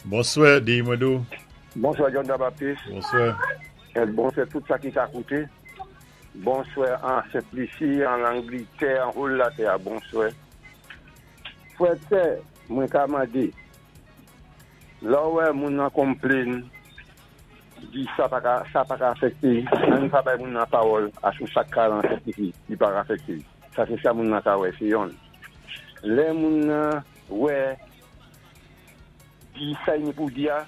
Bonswè, di mwen dou. Bonswè John Jean Baptiste. Bonswè. Et bonswè tout sa ki ka kouté. Bonswè an Sentlisi, an Langlitè, an whole latè a bonswè. Frè et sè, mwen ka mandé, lè w wè moun nan konplin, di sa pa ka, sa pa ka afèkté, ann pa bay moun nan pawòl a sou sa k ka lan Sentlisi, li pa ka afèkté. Sa sé sa moun nan ka wè, sé yonn. Lè moun nan wè. Di sa y ni pou di a,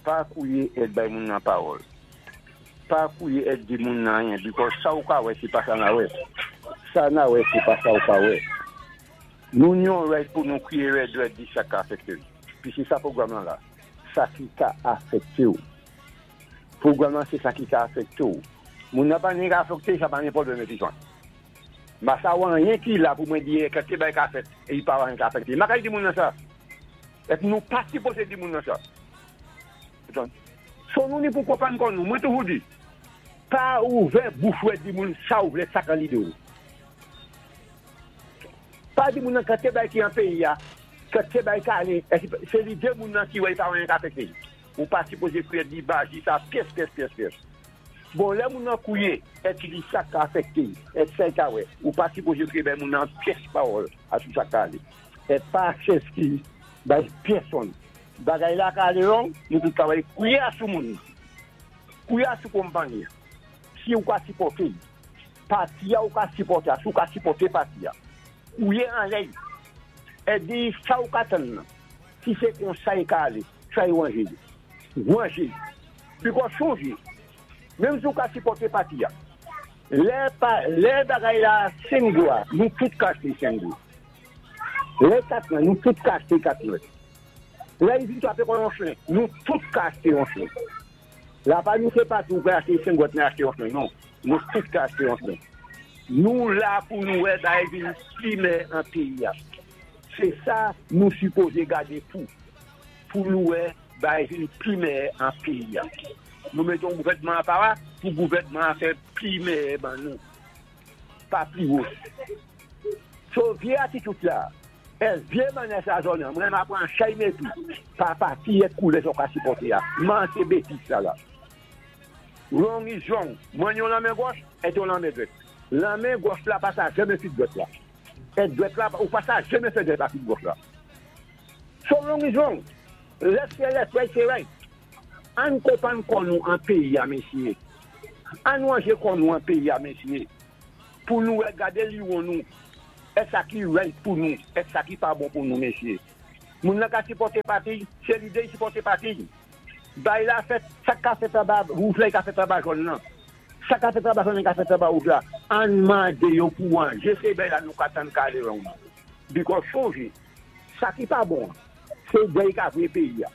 pa kouye et bay moun nan pawòl. Pa kouye et di moun nan anyen because sa ou ka wè se pa sa na wè. Sa na wè se pa sa ou ka wè. Nou ni yon right pou nou kriye rèd rèd di sa k ka afekte n. Pi se sa pwogram lan la. Sa ki ka afekte w. Pwogram lan se sa ki ka afekte w. Moun nan pa ni ka afekte, sa pa ni pwoblèm epi jwenn. M pa sa wè anyen ki la pou mwen di e kèlke bagay ka fèt e li pa wè anyen ka afekte. M pa ka di moun nan sa. Et nou pa sipoze di moun nan sa. So nou ni pou konprann kò nou. Mwen toujou di, pa ouvè bouch ou et di moun sa ou vle, sa k an lide ou. Pa di moun nan kantite bagay ki an peyi a, kantite bagay k ale, se lide moun nan ki wè li pa wè anyen k afekte li. Ou pa sipoze kriye di baji sa pyès pyès pyès pyès. Bon lè moun nan kouye et li di sa k ka afekte li, et sa li ka wè, ou pa sipoze kriye bay moun nan pyès pawòl a sou sa k ka ale. Et pa eskiz bay pèsonn. Bagay la ka ale long, nou tout ka wè kouye a sou moun nan. Kouye a sou konpanyi an. Si ou ka sipòte li. Pati a ou ka sipòte a, si ou ka sipòte pati a. Kouye anlè li. Et di sa ou ka tann nan. Si se konsa li ka ale, try ranje li. Ranje li. Because sonje, menm si ou ka sipòte pati a, lè pa, lè bagay la 5 gou a, nou tout ka achte 5 gou. Lè 4 nwè, nou tout ka achte 4 nwè. Lè li vin trape kò yon chen, nou tout ka achte yon chen. La pa nou se pati ou ka achte 5 gwòt men achte yon chen non. Nou tout ka achte yon chen. Nou la pou nou wè bagay vin pi mè an peyi a. Se sa nou sipoze gade pou. Pou nou wè bagay vin pi mè an peyi a. Nou mete yon gouvènman apa a pou gouvènman an fè pi mè ban nou. Pa pli wo. So vye atitut la, es vye manyè sa zòn an, mwen ma pran chay mepri pa pati et koulè sa w ka sipòte a. Man se betiz sa la. Wrong is wrong. Mwen yon lanmen gòch et yon lanmen dwèt. Lanmen gòch la pa sa janmen fit dwèt la. Et dwèt la ou pa sa janmen fè dwèt la fit gòch la. So wrong is wrong. Left se left, right se right. Ann konpann kò nou an peyi a mesye. Ann ranje kò nou an peyi a mesye. Pou nou wè gade liwon nou et sa ki right pou nou et sa ki pa bon pou nou mesye. Moun nan ka sipòte pati y, se lide y sipòte pati y. Bay la fèt, sak ka fèt anba wouj la y ka fèt anba jòn nan. Sa ka fèt anba jòn nan y ka fèt anba wouj la. Ann mande yo pou ranje se bay la nou ka tann kale wrong nan. Because sonje, sa ki pa bon an, se dèy ka vre peyi a.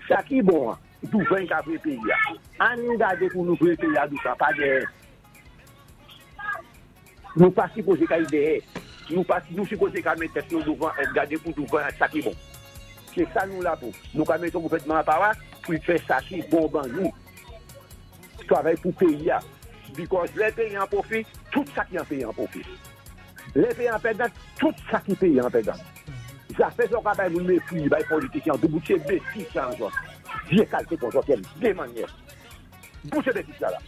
Sa ki bon an, douvan y ka vre peyi a. Ann gade pou nou vre peyi a douvan, pa dèyè. Nou pa sipoze kay dèyè. Nou pa nou sipoze ka met tèt nou douvan et gade pou douvan ak sa ki bon. Se sa nou la pou. Nou ka met yon gouvènman apa pou l fè sa ki bon ban nou. Travay pou peyi a. Because lè peyi an pwofi, tout sa ki an peyi an pwofi. Lè peyi an pèdan, tout sa ki peyi an pèdan. Zafè sa w ka bay moun mepri, bay politisyen an doubout se betiz sa an zòt. Vye kalte kon zòt yèm de mannyè. Bouche betiz sa la.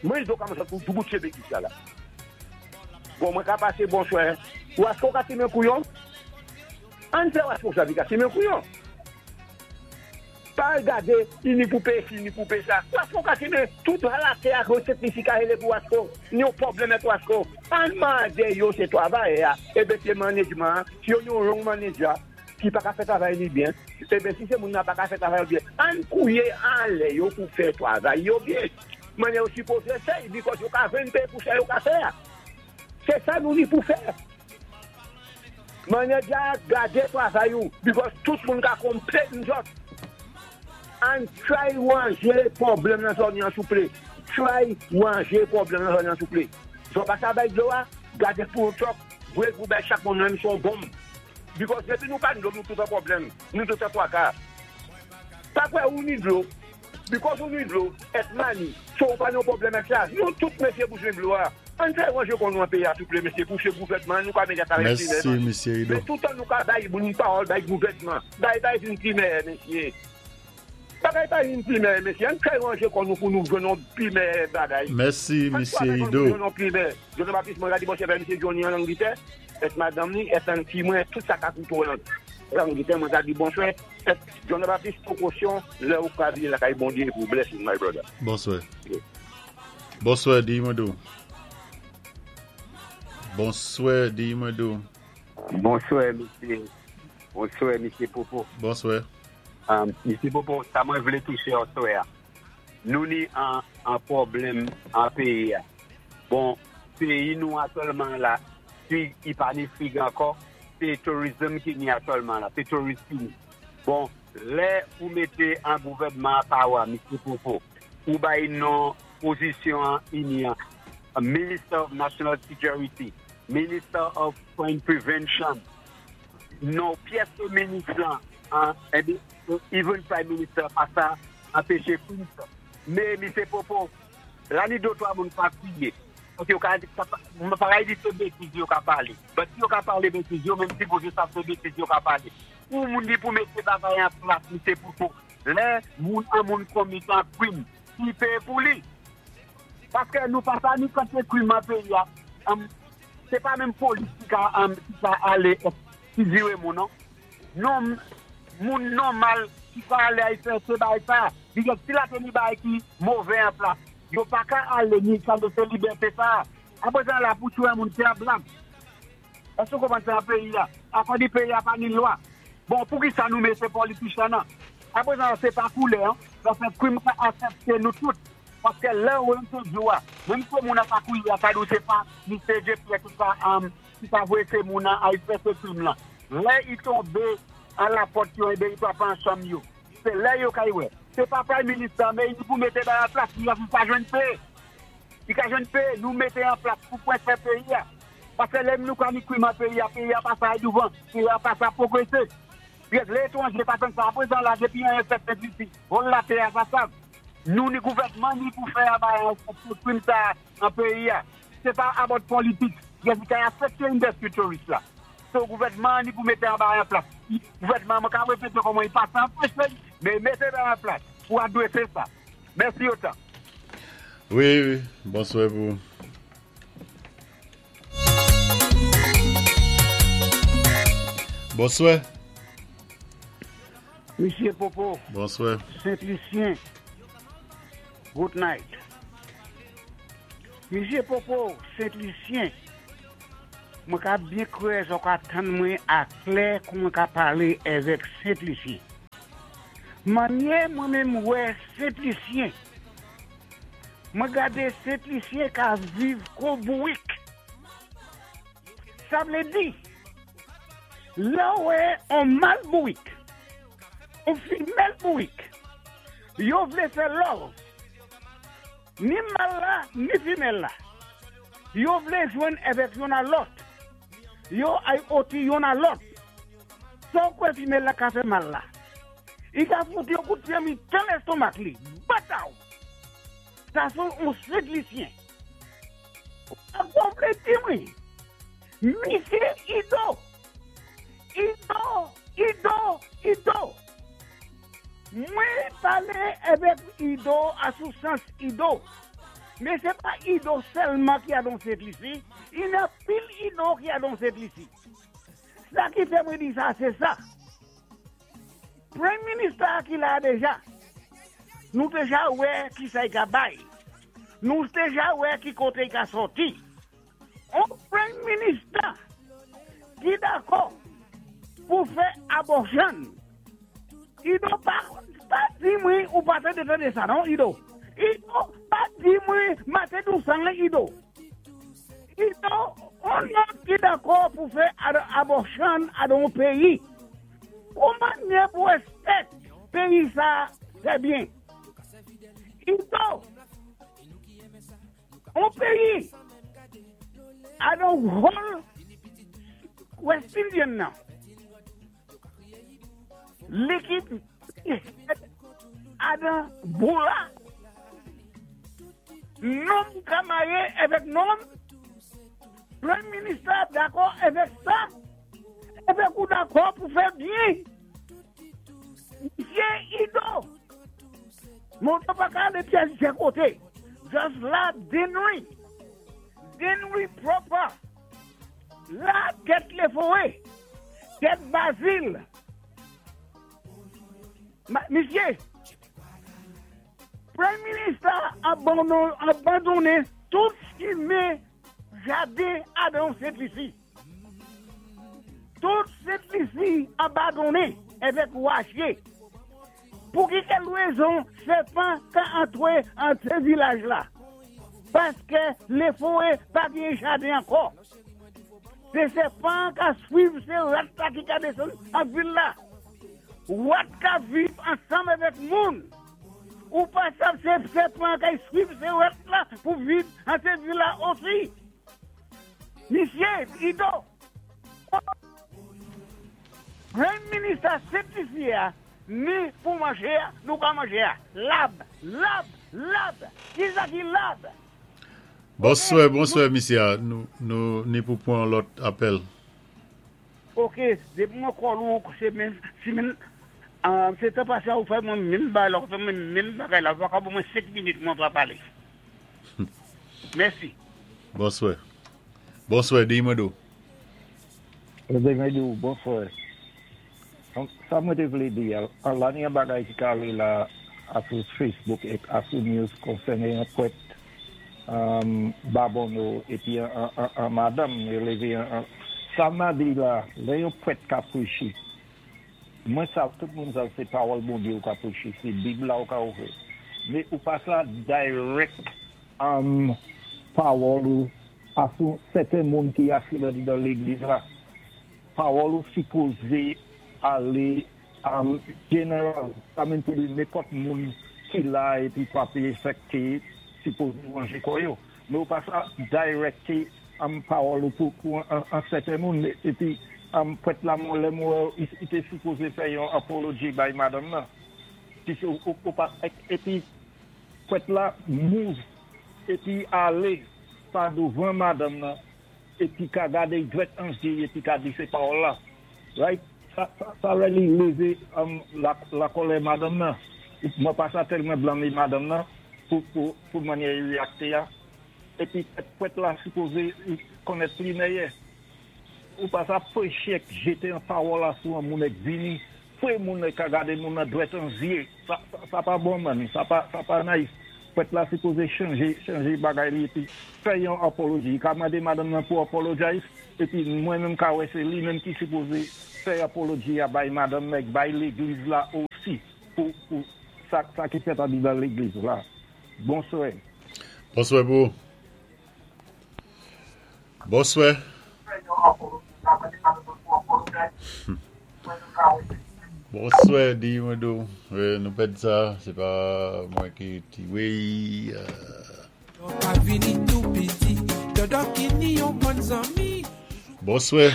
Mwen do ka mwen sot pou bouche betiz sa la. Bon mwen ka pase bonswè. Wasko ka simen kouyon? Ann fè wasko sa li ka simen kouyon. Pa al gade ini pou peye si ini pou peye sa. Wasko ka simen tout latè ak resèt li si ka hele pou wasko. Ni yon pwoblèm ak wasko. Ann mande yo se travayè a eben se manedjman an si yo yon wrong manager ki pa ka fè travay li byen eben si se moun nan pa ka fè travay yo byen ann kouye anlè yo pou fè travay yo byen manyè yo sipoze fè l because yo ka jwenn peye pou sa yo ka fè a se sa nou ni pou fè manager a gade travay ou because tout moun ka konplenn zòt ann try ranje pwoblèm nan zòn yan souple try ranje pwoblèm nan zòn yan souple zò pa sa bay dlo a gade pou yon truck voye l pou bay chak moun menm si yon bonm. Because depi nou pa dlo nou tout an pwoblèm, nou tout an twaka. Pa kwè ou ni dlo, because ou ni dlo, et mani, so ou pa nan pwoblèm ak sa. Nou tout mesye bouzwen dlo a. Ann fè ranje kò nou an peyi a souple mesye pou se gouvènman nou ka mete a travay Mèsi plimen. Mesye Rido. Men toutan nou ka bay moun pawòl bay gouvènman, bay bay vin plimen mesye. Bagay pa vin pi mèyè mesye, ann fè ranje kò nou pou nou jwenn yon pi mèyè bagay. Mèsi Ann misye kwaze kò nou Ido. pou jwenn yon pi mèyè. Joseph Baptiste mwen gade bò chèvè misye Johnny an Angletè, et madanm li, et Nancy mwen, tout sa ka koute w an Angletè mwen ta di bonswè, et John Baptiste pwokosyon lè ou ka vini lakay Bondye pou blessing my brother. Bonswè. Bonswè di mwen do. Bonswè di mwen do. Bonswè mesye Bonswè mesye Popo. Bonswè. Mesye Popo sa mwen vlé touché aswè a nou ni an pwoblèm an péyi a bon péyi nou aktyèlman la fig i pa ni fig ankò sé tourism ki ni aktyèlman la sé tourist ki ni bon lè ou mété an gouvènman an pawa mesye Popo ou bay non pozisyon an ini an minister of national security minister of crime prevention Non pyès ke minis lan an even prime minister pa sa anpeche krim fèt. Me misye Popo, la ni de twa moun ka kriye. Paske yo ka m pa ka di se betiz yo ka pale. But si yo ka pale betiz yo menm sipoze sa se betiz yo ka pale. Pou moun li pou mete bagay an plas misye Popo, lè moun an moun komit an krim, ki peye pou li. Paske nou pa sa ni kantite krim an peyi a. Se pa menm polis ki ka ki ka ale fizire moun non. Non moun nòmal ki ka ale al fè se bagay sa. Because si la te ni bagay ki move an plas, yo pa ka ale ni sa se libète sa. Aprezan la pou tchwe moun se an blag. Èske ou konprann se an peyi a. Akò di peyi a pa ni lwa. Bon poukisa nou mete politician nan. Aprezan la se pa koulè an. Paske krim ka afekte nou tout. Paske lè ou te di ou a, menm ke moun an pa kouye a, sa di ou se pa Misye J. Pierre ki ka ki ka voye se moun an al fè se krim lan. Lè i tonbe an la pòt yo enben i pa pran chanm yo. Se lè yo kay wè. Se pa prime minister an men li pou mete bagay an plas li ka jwenn pe. Li ka jwenn pe nou mete an plas pou pwen fè peyi a. Paske lè nou ka ni krim an peyi a, peyi a pa sa al douvan, peyi a pa sa pwogrese. Lè etranje pa tann sa. Aprezan la depi anyen fèt Sent Lisi, wòl latè a sa sav. Nou ni gouvènman ni pou fè a bay afekte krim sa nan peyi a. Se pa about politics. Yes li ka afekte industry tourist la. So gouvènman ni pou mete an bagay an plas. Gouvènman mwen ka repete kòman li pa anpeche men mete bagay an plas pou adrese sa. Mèsi otan. Wi wi, bonswè pou ou. Bonswè. Misye Popo. Bonswè. Sent Lisyen. Good night. Misye Popo, Sent Lisyen. Mwen ka byen kwè zò ka tann mwen a klè kou mwen ka pale èvèk Sent Lisyen. Manyè mwen menm wè Sent Lisyen. Mwen gade Sent Lisyen ka viv kou bourik. Sa vle di, lè w wè on mal bourik, on femèl bourik, yo vle fè love, ni mal la, ni femèl la, yo vle jwenn avèk yonn a lòt, yo ay oti yonn a lòt. Sa w kwè femèl la ka fè mal la? I ka fout yon kout pye mitan lestomak li, bataw! Sa son on Sent Lisyen. Ou vle di mwen, misye Ido, Ido, Ido, Ido. Mwen pale avèk Ido a sou sans Ido. Men se pa Ido sèlman ki a don Sent Lisi, i nan pil Ido ki a don Sent Lisi. Sa ki fè mwen di sa, se sa. Prime Minister a ki la deja, nou deja wè ki sa i ka bay. Nou deja wè ki kote i ka soti. On Prime Minister ki dakò pou fè abortion. Ido pa pa di mwen ou pa tande tande sa non Ido. Ido pa di mwen mate dousan Ido. Ido, on nonm ki dakò pou fè abortion a don peyi. Kouman nye pou respect peyi sa fè byen? Ido, on peyi a don whole West Indian nan. Li ki adan boula. Nonm ka marye avèk nonm. Prime Minister dakò avèk sa. Avèk ou dakò pou fè byen. Misye Ido. Moto pa ka alé pyès djè koté. Just la Dennery. Dennery proper. La tèt Leforé. Tèt Bazil. Misyé, Premye Minis la abandonnen tout chimen jaden Adan Sentlisi. Tout Sentlisi abandonnen avèk wache. Pou ki kèl rezon sèpan ka antre an vilaj la? Paske Leforé pa gen jaden ankò. Se sèpan ka swiv se rat la ki ka desann an vil la. Rat ka viv ansanm avèk moun. Ou pa sav se sèpan kay swiv se rat la pou viv an se vil la osi. Misye, Ido, Premye minis la senplifye a ni pou manje a nou ka manje a. Lab, lab, lab! Kisa ki lab? Bonswè, bonswè misye a, nou ni pou pwan lòt apèl. Ok, depi mwen call ou se menm si menm se tan pase a ou fè mwen menm bagay la ou fè mwen menm bagay la ou paka ban mwen 5 minit mwen pa pale. Mèsi. Bonswè. Bonswè, di mwen do. Di mwen do, bonswè. Sa mwen te vle di, an la ni an bagay ki ka ale la asou Facebook ek asou news konsène an pwèt Babonneau epi an madanm yo leve an sa ma di la lè yon pwèt ka preche mwen sav tout moun sav se pawòl Bondye ou ka preche se bib la ou ka ouvri men ou pa sa direct pawòl ou asou sèten moun ki asi nan legliz la. Pawòl ou sipoze ale general sa menm pou di nenpòt moun ki la epi pape efekte sipoze ranje kò yo men ou pa sa directe pawòl ou pou an sèten moun epi prèt la mwen lèm wè li te sipoze fè yon apology bay madanm nan pise ou pa epi prèt la move epi ale pa douvan madanm nan. Epi ka gade dwèt an zye epi ka di se pawòl la right sa really leve la kòlè madanm nan mwen pa sa tèlman blame madanm nan pou manyè li reakte a epi prèt la sipoze konnèt li mèyè ou pa sa preche k jete an pawòl a sou an moun ek vini Fre moun ka gade moun nan dwèt an zye sa pa bon man sa pa nice prèt la sipoze chanje chanje bagay li epi fè yon apology li ka mande madanm nan pou apologize epi mwen menm ka wè se li menm ki sipoze fè apology a bay madanm nan ek bay legliz la osi pou pou sa sa ki fèt andedan legliz la bonswè. Bonswè pou ou. Bonswè. Bonswè di mwen do. Nou pèd sa, se pa mwen ki ti wey. Bonswè.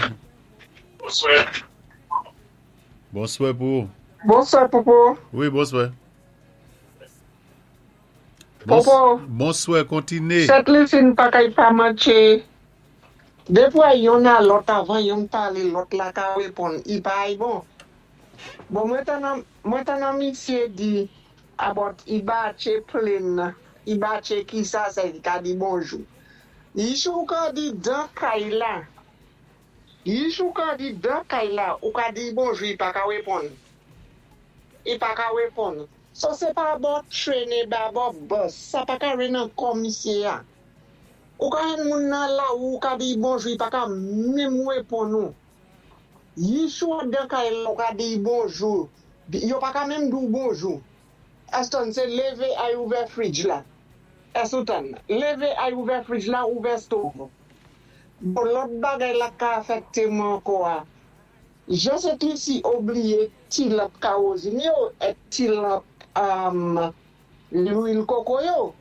Bonswè pou ou. Bonswè Popo. Wi bonswè. Popo. Bonswè kontine. Sèt Lucie n pa kay pa manche. Depi wè yonn a lòt avan yonn pale lòt la ka reponn i pa ay bon. Bon mwen tann mwen tann an misye di about i batche plane nan i batche kisa sè li ka di bonjou. Yi ou ka di dan kay la yi ou ka di dan kay la ou ka di bonjou i pa ka reponn. I pa ka reponn. So se pa bò train e ba bò bus sa pa ka ren nan kò misye a. Ou ka jwenn moun nan lari ou ka di bonjou li pa ka menm reponn ou. Yi sou andan kay la ou ka di bonjou yo pa ka menm di w bonjou. Eston se leve ay ouvè fridge la. Èske ou tann? Leve ay ouvè fridge la ouvè stove. Bon lòt bagay la ka afèkte mwen ankò a Jan Sent Lisi obliye ti lanp kawozin yo et ti lanp lwil koko yo.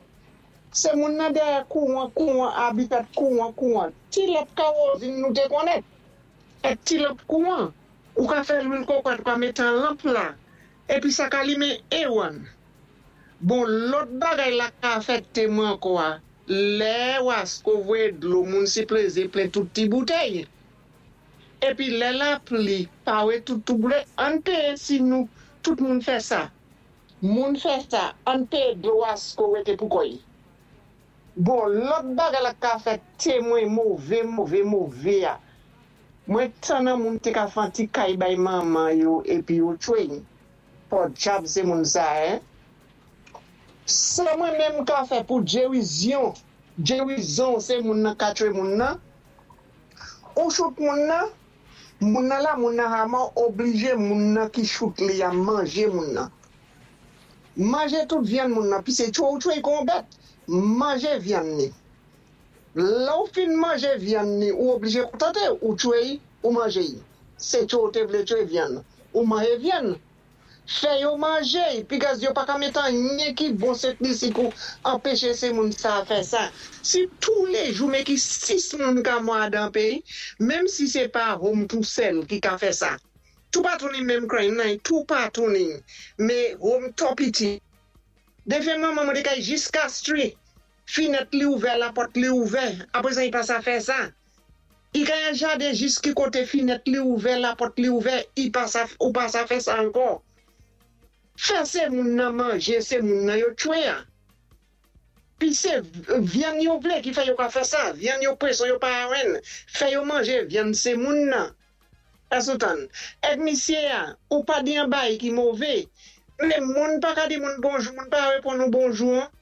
Se moun nan dèyè kouwan kouwan abi fèt kouwan kouwan. Ti lanp kawozin nou te konnen et ti lanp kouwan. Ou ka fè lwil koko et ou ka mete an lanp la. Epi sa ka limen ewan. Bon lòt bagay la ka afèkte mwen ankò a lè wasko voye dlo moun sipleze plen tout ti boutèy. Epi lè lapli pare tout tou boule ann peye si nou tout moun fè sa. Moun fè sa, ann péyé dlo Wasko wété pou kò-y. Bon, lòt bagay la ka fè témwen mové, mové, mové a, mwen tannan moun té ka fè an ti kay bay manman yo épi yo tchwe-y. Pòdjab sé moun sa, hein. Sa mwen menm ka fè pou djerizyon, djerizon sé moun nan ka tchwe moun nan, ou chout moun nan, Moun nan la moun nan hama oblije moun nan ki chout li a manje moun nan. Manje tout vyann moun nan pi se tchwe ou tchwe kon bèt. Manje vyann ni. Lè ou fin manje vyann ni ou oblije kontante ou tchwe y ou manje y. Se tchwe ou te vle tchwe vyann. Ou manje vyann. Fè yo manje y because yo paka met anyen ki bon se plisi pou anpeche se moun sa fè sa. Si tou le jou men ki 6 moun ka mò adan peyi menm si se pa home tou sèl ki ka fè sa. Toupatou ni menm crime nan y toupatou ni me home tò piti. Defen manman mwen te kay jis Castries Finèt li ouvè lapòt li ouvè aprezan i pa sa fè sa i ka yon jaden jis ki kote finèt li ouvè lapòt li ouvè i pa sa ou pa sa fè sa ankò fè se moun nan manje se moun nan yo tchwe a pi se vyann yo vle ki fè yo ka fè sa vyann yo pweson yo pa renn fè yo manje vyann se moun nan èske ou tann èk misye a ou pa di yon baay ki move men moun pa ka di moun bonjou moun pa reponn ou bonjou an.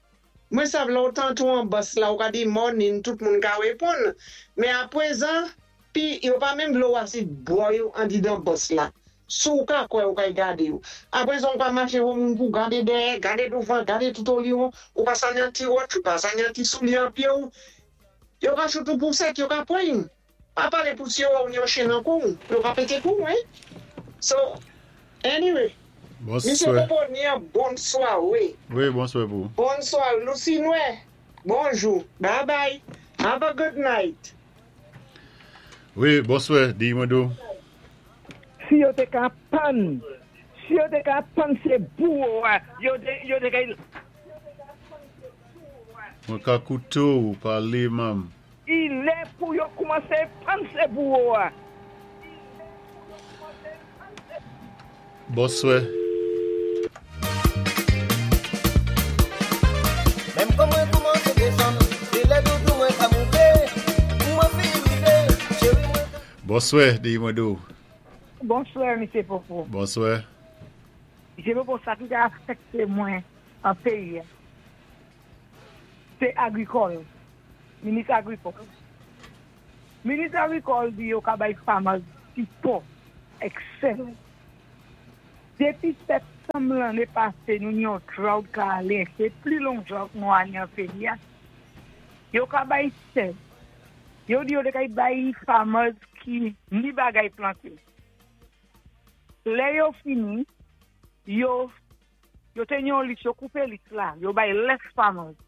Mwen sav lè w tantou an bus la ou ka di morning tout moun ka reponn men aprezan pi yo pa menm vle w asi bò yo andidan bus la si w ka kwè ou kay gade yo aprezan ou ka mache wè moun pou gade dèyè gade douvan gade toutoliwon ou pa sa ni an ti wòch ou pa sa ni an ti soulye an pye w yo ka chout ou pousèt yo ka pran Pa pale pou si yo wè w ni yon chen nan kou w, yo ka pete kou w wi. So, anyway, Misye Bonswè. Popo ni an bon swawe. Wi, bonswè pou ou. Bon swawe. Lucinue, bonjou. Bye bye. Have a good night. Wi, bonswè, di mwen do. Si yo te ka pann, si yo te ka pann se bouwo a yo te yo te ka. Mwen ka koute w pale mam. I lè pou yo koumanse pann se bouwo a. Bonswè. Menm kon mwen koumanse desann Se lè doudou mwen ka moute Mwen fi rive Cheri mwen ka. Bonswè Deyi mwen do. Bonswè Misye Popo. Bonswè. Misye Popo sa ki ka afekte mwen an peyi a se agrikòl, minis agrikòl. Minis agrikòl di yo ka bay farmers sipò excel. Depi septanm lanne pase nou gen yon drought ka ale, se pli long drought nou ane an peyi a. Yo ka bay sèd. Yo di yo te kay bay farmers ki ni bagay plante. Lè yo fini, yo Yo te gen yon lis, yo koupe lis la, yo bay less farmers.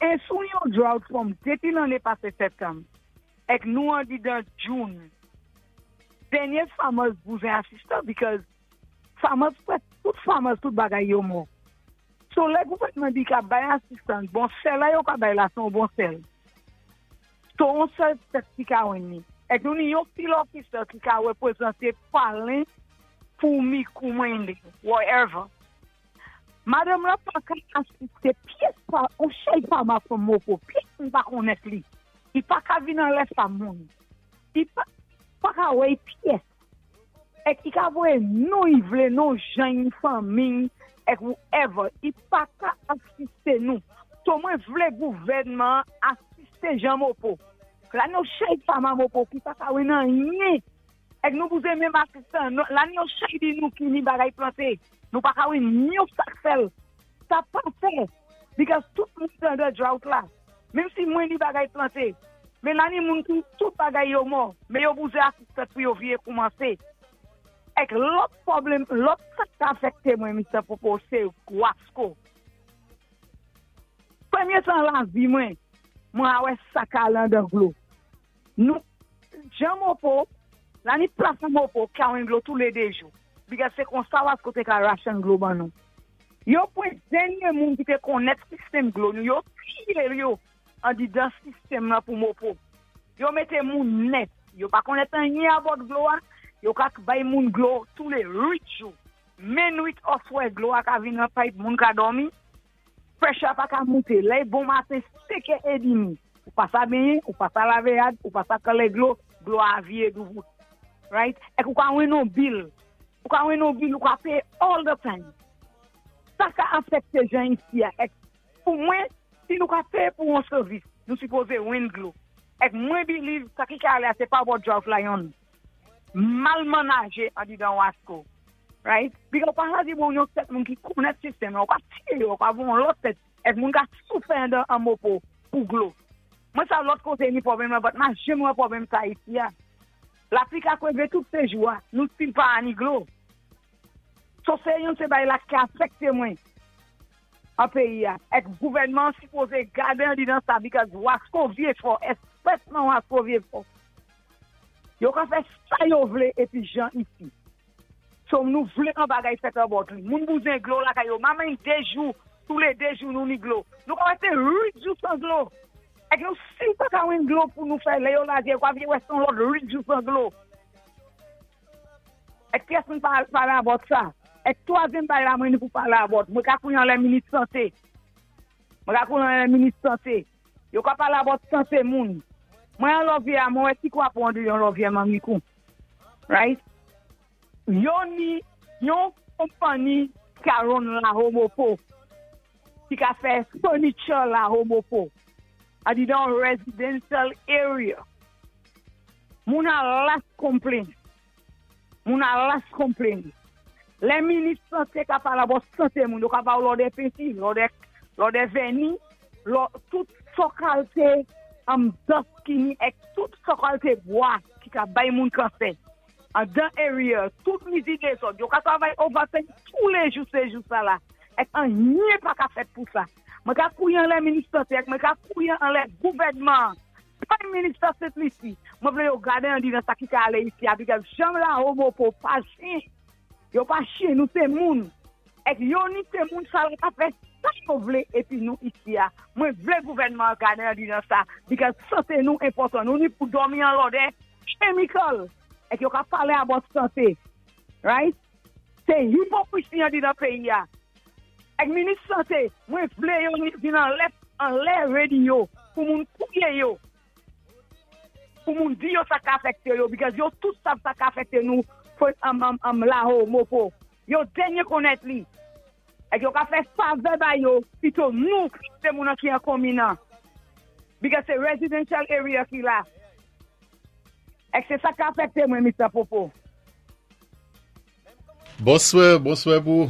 E sou yon drought from depi lanne pase septanm, ek nou andidan June, dènye farmers bouzen asistan because farmers prèsk tout farmers tout bagay yo mò. So lè gouvènman di ka bay asistans, bon sè la yo ka bay la se yon bon sèl. So on sèl tèt ki ka win li. Ek nou ni yon field officer ki ka reprezante Palen pou Mikou Mwenle, whatever. Madanm lan pa ka asiste pyès pa on sèl farmer from Moko, pyès moun pa konnèt li. Li pa ka vin anlè sa moun. Li pa pa ka wè pyès. Ek i ka voye non i vle, non jan i fanmi ek whoever. I pa ka asiste nou. So mwen vle gouvènman an asiste Jean Mopo. La nou chay farmer Mopo ki pa ka wè nan anyen. Ek nou bouzen menm asistan. La nou chay di nou ki ni bagay plante. Nou pa ka wè yon sak sèl. Sa pa fè. Because tout moun under drought la. Menm si mwen ni bagay plante. Men la ni moun ki tout bagay yo mò. Men yo bouzen asistan pou yo viye koumanse. Ek lòt pwoblèm, lòt sa ka afekte mwen, Mr. Popo, se Wasko. Premye tan la vi mwen, mwen a wè sa ka landan glo. Nou, jan Mopo, la ni plas Mopo, ka glo tou le de jou. Because se kon sa Wasko te ka ration glo ban nou. Yo pwen denye moun ki te konet sistem glo nou, yo tiye yo an di dan sistem la pou Mopo. Yo mete moun net, yo pa konet an nye abot glo a, yo kak bay moun glo tou le 8 jou. Menwit. Oswè dlo a ka vin nan pipe, moun ka dòmi. Pressure pa ka moute. Lè bon maten 5 è edmi, ou pa sa benyen, ou pa sa lave rad, ou pa sa kale dlo, dlo a vye douvout. Right? Ek ou ka wen nou bill. Ou ka wen nou bill, ou ka pay all the time. Sa ka afekte jan isi a. Ek pou mwen, si nou ka pay pou yon servis, nou sipoze wen dlo. Ek mwen believe, sa ki ka ale a se pa about drought la yon. Mal manaje an di dan Wasco. Right? Because pa sa di bon yon set moun ki konet sistem, ou pa tiye yo, ou pa bon lot set, ek moun ka soufe an an mopo pou glo. Mwen sa lot kote ni pwoblèm la, but ma jem wè pwoblèm sa isi ya. Lapli ka kweve tout se jou a, nou still pa ani glo. So se yon se bay la ki afekte mwen an peyi ya. Ek gouvènman sipoze gade an di dan sa because Wasco vye fò, espesman Wasco vye fò. Yo ka fè sa yo vle epi jan isi. So nou vle an bagay fèt about li. Moun bouzen glo la kay yo. Mamen de jou, tou le de jou nou ni glo. Nou ka wè se 8 jou san glo. Ek nou si pa ka wen glo pou nou fè le yo la diye, kwa vye wè son lot 8 jou san glo. Ek pyès moun pa pale about sa. Ek twazyèm bagay la mwen nou pou pale about. Mwen ka kouyan le minis sante. Mwen ka kouyan le minis sante. Yo ka pale about sante moun. Mwen an lovye a, mwen wè si kwa pou an di yon lovye mami kou. Right? Yo ni, yon kompani ka ron la homopo. Ki ka fè furniture la homopo. A di dan residential area. Moun a las complain. Moun a las complain. Le minis sante ka pale about sante moun. Yo ka ba ou lò de penti, lò de, lò de veni, lò tout so kalte am dust ki ni ek tout so kalte bois ki ka bay moun kansè. An dan area, tout mizi de zot, yo ka travay overtime tous les jours, se jou sa la. Ek an nye pa ka fet pou sa. Mwen ka kouyan le minis sante, ek mwen ka kouyan an le gouvènman. Prime Minister Sent Lucie. Mwen vle yo gade an di nan sa ki ka ale isi a, because jan la homopo pa chien. Yo pa chien, nou se moun. Ek yo ni se moun sa la ka fe sa yo vle epi nou isi a. Mwen vle gouvènman gade an di nan sa, because sante nou important. Nou ni pou dormi an lode chemical. Ek yo ka pale about sante. Right? Se hipokrisi an di nan peyi ya. Ek minis sante, mwen vle yo ni vin an lè, an lè radio pou moun kouye yo. Pou moun di yo sa ka afekte yo, because yo tout sav sa ka afekte nou am, am, am la ho, mopo. Yo denye konet li. Ek yo ka fe favè ba yo, pito nou se moun an ki an kominan. Because se residential area ki la. Ek se sa ka afekte mwen, Mr. Popo. Bonswa, bonswa pou.